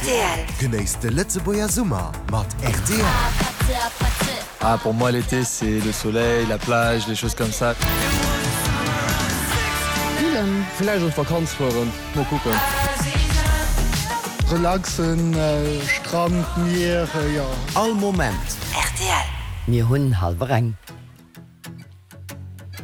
Rtl. Genéisst de Lëtzebuerger Summer mat rtl. Ah pour moi l'été c'est le soleil, la plage, les choses comme ça. Grillen. Villäicht an d'Vakanz fueren, mol kucken. Relaxen, Strand, Mier, jo. All Moment. Rtl. Mir hunn hallwer eng.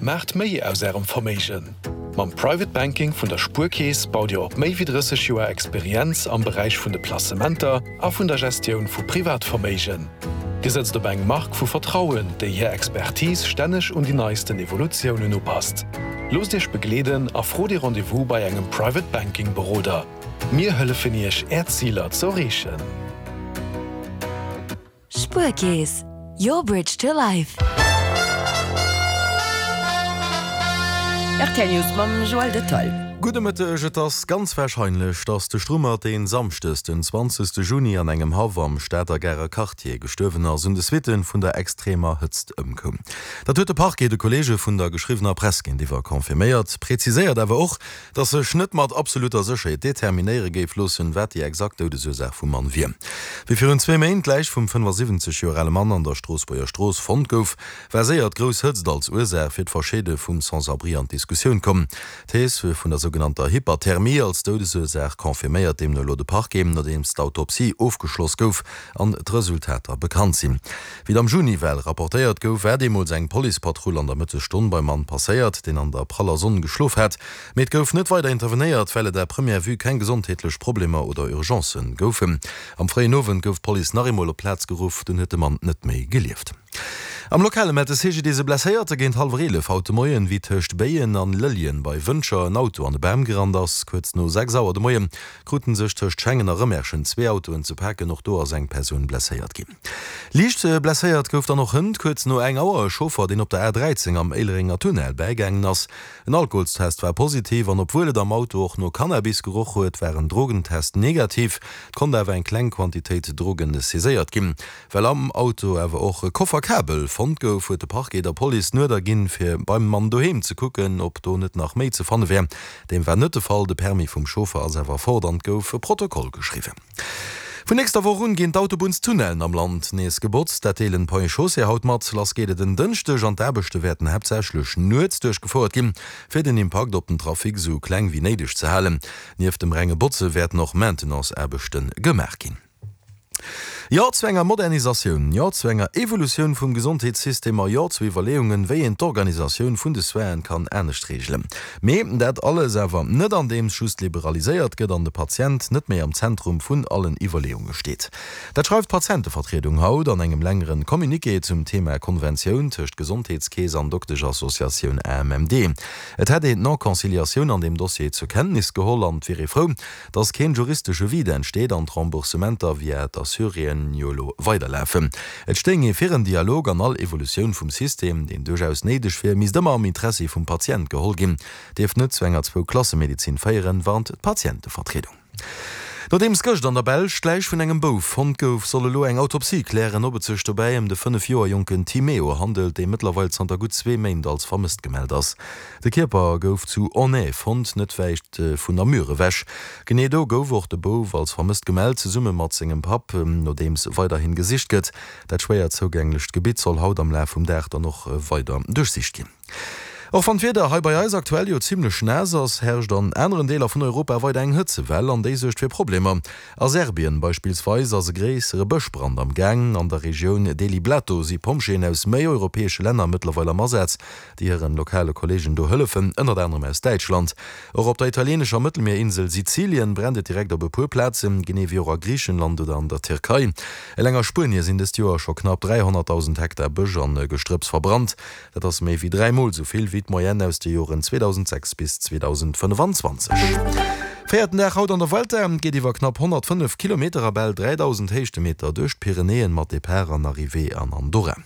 Maacht méi aus Ärem Verméigen! Mam Private Banking vun der Spuerkeess baut Dir op méi wéi 30 Joer Experienz am Beräich vun de Placementer a vun der Gestioun vu Privatverméigen. Dir sëtzt op eng Mark vu Vertrauen, déi hir Expertise stänneg un déi neisten Evolutiounen upasst. Loosst Iech begleeden a frot ee Rendez-vous bei engem Private Banking Beroder. Mir hëllefen Iech Är Ziler z'erreechen. Spuerkeess, your bridge to life. Rtl News mam Joël Detail. Gudde Mëtteg, Et ass ganz warscheinlech, datt de Strummert, deen Samschdes den 20 Juni an engem Haff am Stater Garer Quartier gestuerwen ass, un de Suitte vun der extremer Hëtzt ëmkoum. Dat huet de Parquet de Kolleege vun der geschriwwener Press géintiwwer confirméiert, präziséiert awer och, Datt sech net mat absolutter Sécherheet determinéiere géif loossen, wat déi exakt Doudesursaach vum Mann wier. Wéi virun zwee Méint d'Läich vum 75 Joer ale Mann an der Stroossbuerger Strooss fonnt gouf, war séier d'grouss Hëtzt als Ursaach fir d'Verscheede vum Sans-abri an d'Diskussioun komm. D'Thees vun der sougenannter Hyperthermie als Doudesursaach confirméiert deemno elo de Parquet, nodeems d'Autopsie ofgeschloss gouf an d'Resultater bekannt sinn. Wéi et am Juni well rapportéiert gouf, war deemools eng Policepatrull an der Mëttesstonn beim Mann passéiert, deen an der praller Sonn geschlof hat. Mee et gouf net weider intervenéiert, well et à première vue keng gesondheetlech Problemer oder Urgencë goufen. Am fréien Owend gouf d'Police nach eemol op d'Plaz geruff, dunn huet de Mann net méi gelieft. Am Lokale mellt de CGDIS e Blesséierte géint hallwer 11 haut de Moien, wéi tëscht Béien an Lëlljen bei Wëntger en Auto an e Bam gerannt ass. Kuerz no 6 Auer de Moie krute sech tëscht Schengen a Rëmerschen zwee Autoen ze paken. Och do ass eng Persoun blesséiert ginn. Liicht blesséiert gouf dann och hënt kuerz no eng Auer e Chauffer, deen op der A 13 am Éilerenger Tunnel bäigaangen ass. En Alkoholstest war positiv an obwuel et am Auto och no Cannabis geroch huet, war en Drogentest negativ. Et konnt awer eng kleng Quantitéit Drogen saiséiert ginn. Well am Auto awer och e Koffer Kabel fonnt gouf, huet de Parquet der Police den Uerder ginn, fir beim Mann doheem ze kucken, ob do net nach méi ze fanne wär. Deem war net de Fall, de Permis vum Chauffer ass awer fort an et gouf e Protokoll geschriwwen. Vun nächster Woch un ginn d'Autobunnstunnellen am Land nees gebotzt. Dat deelen d'Ponts et Chaussées haut mat. Lass geet et en Dënschdeg an d'Aarbechte wäerten haaptsächlech nuets duerchgefouert ginn, fir den Impakt op den Trafic esou kleng wéi néideg ze halen. Nieft dem renge Botze wäerten och Maintenance-Aarbechte gemaach ginn. Jo zu enger Modernisatioun, jo zu enger Evolutioun vum Gesondheetssystem a jo zu Iwwerleeungen, wéi een d'Organisatioun vun de Soinen kann anescht reegelen. Mee dat alles awer net andeems just liberaliséiert gëtt an de Patient net méi am Zentrum vun allen Iwwerleeunge steet. Dat schreift d'Patientevertriedung haut an engem längeren Communiqué zum Thema Konventioun tëscht Gesondheetskeess an Dokteschassociatioun AMMD. Et hätt een d'Non-Conciliatioun an deem Dossier zur Kenntnis geholl an et wier ee frou, dass keen juristesche Vide entsteet an d'Remboursementer via d'Assuréen jo elo weiderlafen. Et stéing ee fir en Dialog an all Evolutioun vum System, deen duerchaus néideg wier, misst ëmmer am Interessi vum Patient geholl ginn, dierft net zu enger Zwou-Klasse-Medezin féieren, warnt d'Patientevertriedung. Nodeems gëscht an der Belsch d'Läich vun engem Bouf fonnt gouf, soll elo eng Autopsie klären, ob et sech dobäi ëm de 5 Joer jonken Timeo handelt, dee mëttlerweil zanter gutt zwee Méint als vermësst gemellt ass. De Kierper gouf zu Aulnay fonnt, net wäit vun Namur ewech. Genee do gouf och de Bouf als vermësst gemellt, zesumme mat sengem Papp. Nodeems weiderhin gesicht gëtt. Dat schwéier zougänglecht Gebitt soll haut am Laf vum Dag dann och weider duerchsicht ginn. Och wann d'Wieder hei bei eis aktuell jo zimmlech naass ass, herrscht an aneren Deeler vun Europa weider eng Hëtzewell an déi suergt fir Problemer. A Serbien beispillsweis ass e gréissere Bëschbrand am Gaang. An der Regioun Deliblato si Pompjeeën aus méi europäesche Länner mëttlerweil am Asaz. déi hiren lokale Kolleegen do hëllefen, ënnert anerem aus Däitschland. Och op der italieenescher Mëttelmierinsel Sizilien brennt et direkt op e puer Plazen, genee wéi och a Griichenland oder an der Tierkei. Eleng a Spuenie sinn dëst Joer scho knapp 300.000 Hektar Bësch an Gestrëpps verbrannt. Dat ass méi wéi 3 Mol esou vill wéi d'Moyenne aus de Joren 2006 bis 2025. Véierten Dag haut an der Vuelta, Et geet iwwer knapp 105 Kilometer a bal 3.000 Héichtemeter duerch d'Pyrenäen mat Depart an Arrivée an Andorra.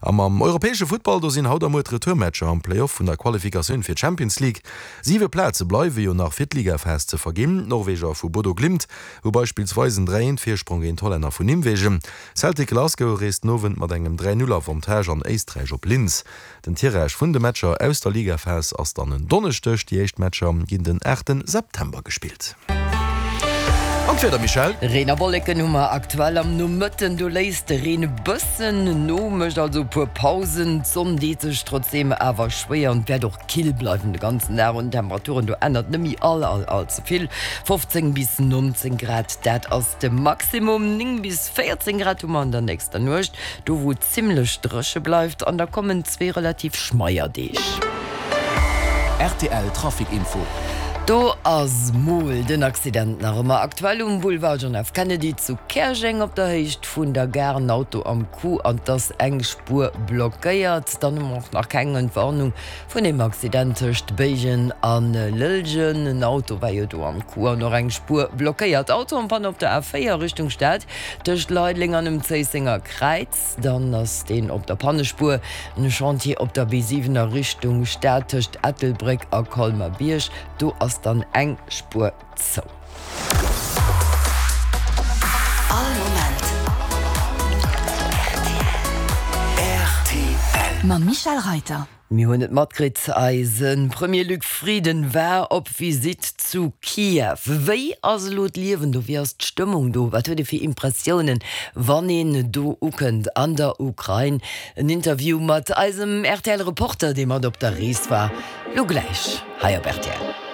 A mam europäesche Futtball, do sinn haut a muer d'Retourmatcher am Play-Off vun der Qualifikatioun fir d'Champions League. Siwe Plaze bleiwe jo nach fir d'Ligaphas ze verginn. D'Norweger vu Bodo Glimt hu beispillsweis en 3 Eent Virsprong géint d'Hollänner vun Nimwegen. Celtic Glasgow reest den Owend mat engem 3 Null Avantage an Éisträich op Linz. Den Tirage vun de Matcher aus der Ligaphas ass dann en Donneschdeg. Déi éischt Matcher ginn den 8 September gespillt. An d'Wieder, Michèle? Reen a Wolleken hu mer aktuell am Nomëtten, do léisst de Reen e bëssen no, mécht also e puer Pausen. D'Sonn deet sech trotzdeem awer schwéier an et wäert och kill bleiwen de ganzen Dag. Un den Temperaturen do ännert net méi all all all ze vill, 15 bis 19 Grad, dat ass de Maximum. 9 bis 14 Grad hu mer an der nächster Nuecht, do wou et zimmlech dréche bleift an da kommen zwee relativ schmeier Deeg. Rtl Trafic Info. Do ass mol den Accident nach ëmmer aktuell um Boulevard John F. Kennedy zu Käerjeng op der Héicht vun der Gare. En Auto am Coup an 't ass eng Spuer blockéiert. Dann hu mer och nach keng Entwarnung vun deem Accident tëscht Béigen a Lëllgen. En Auto war jo do am Coup an och eng Spuer blockéiert. Auto en panne op der A4 Richtung Stad tëscht Leideleng an dem Zéissenger Kräiz. Dann ass deen op der Pannespuer. En Chantier op der B7 a Richtung Stad tëscht Ettelbréck a Colmer-Bierg. Do ass dann eng Spuer zou. All Moment rtl. Mam Michèle Reyter. Mir hunn et matkritt, eise Premier Luc Frieden war op Visitt zu Kiew. Wéi ass elo d'Liewen do? Wéi ass d'Stëmmung do? Wat huet ee fir Impressiounen, wann een do ukënnt an der Ukrain? En Interview mat eisem RTL-Reporter, dee mat op der Rees war, lo gläich hei op rtl.